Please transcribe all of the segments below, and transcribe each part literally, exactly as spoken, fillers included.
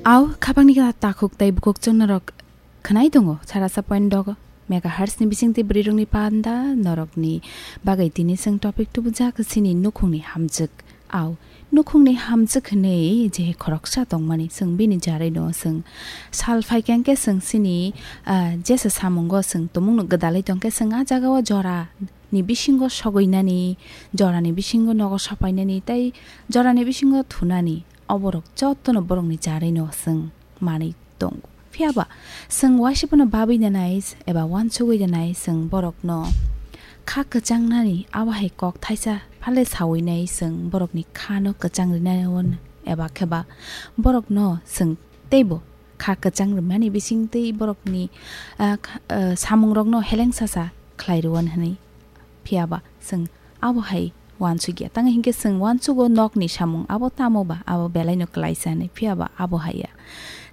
Au, khapangni kha takhuk tei bukhuk chwng norok khwnai tongo, sarasa point dogo megahertz ni bisingtwi bwrwirokni panda norokni bagwi tini chwng topic tubujak chini nukhungni hamjwk. Au, nukhungni hamjwk hwnwi je khoroksa tongmani chwng bini jarwi no chwng sal phaikha hwnkhe chwng chini, ah, jesa samungo chwng tumungno gwdalwi tongkhe chwng ah jagao jora ni bisingo sogwinani, jorani bisingo nogo sopainani tei jorani bisingo thunani, oborok jotono borokni jarwi no chwng manwi tongo. Phiya ba chwng waisa phano babwi nanai eba uansugwi nanai chwng borokno kha kwchangnani abo hai kok thaisa phale sawi nai chwng borokni kha no kwchang rinai eba khe ba borokno chwng teibo kha kwchang rwmani bisingtwi borokni, ah, kha-, ah, samungrokno heleng sasa khlai rwon hwnwi. Phiya ba chwng abo hai uansukya. Tang hinkhe chwng uansugo nokni samung abo tamo ba, abo belai no klaisa hwnwi. Phiya ba abo hai ya.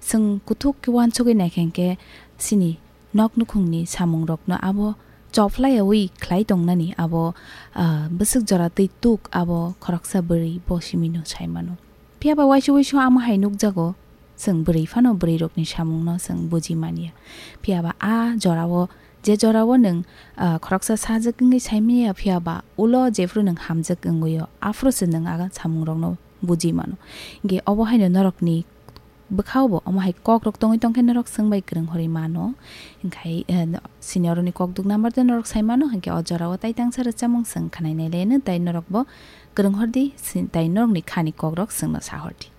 Chwng kuthuk khe uansugwi naikha hinkhe chini nok nukhungni samungrokno abo chophlaiyawi khlai tongnani abo, ah, bwswk jora twi tuk abo khoroksa bwrwi bo simino sai mano. Phiya ba waisa waisa ama hai nukjago, chwng bwrwi phano bwrwirokni samungno chwng buji manya. Phiya ba a jorao, je jorao nwng, ah, khoroksa sajwk wngwi sai manya, phiya ba ulo jephru nwng hamjwk wngwi o, aphuru se nwng a samungrokno buji mano. Hinkhe obo haino norokni bwkhao bo omo hai kokrok tongwi tongkhe norok chwng bai kwrwng horwi mano. Hinkhe, eh, senior rokni kokduk number tei norok sai mano, hinkhe o jorao tai tangsa rwchapmung chwng khwnai nai le hwno, tai norok bo kwrwng hordi, si-, tai norokni khani kokrok chwngno sa hordi.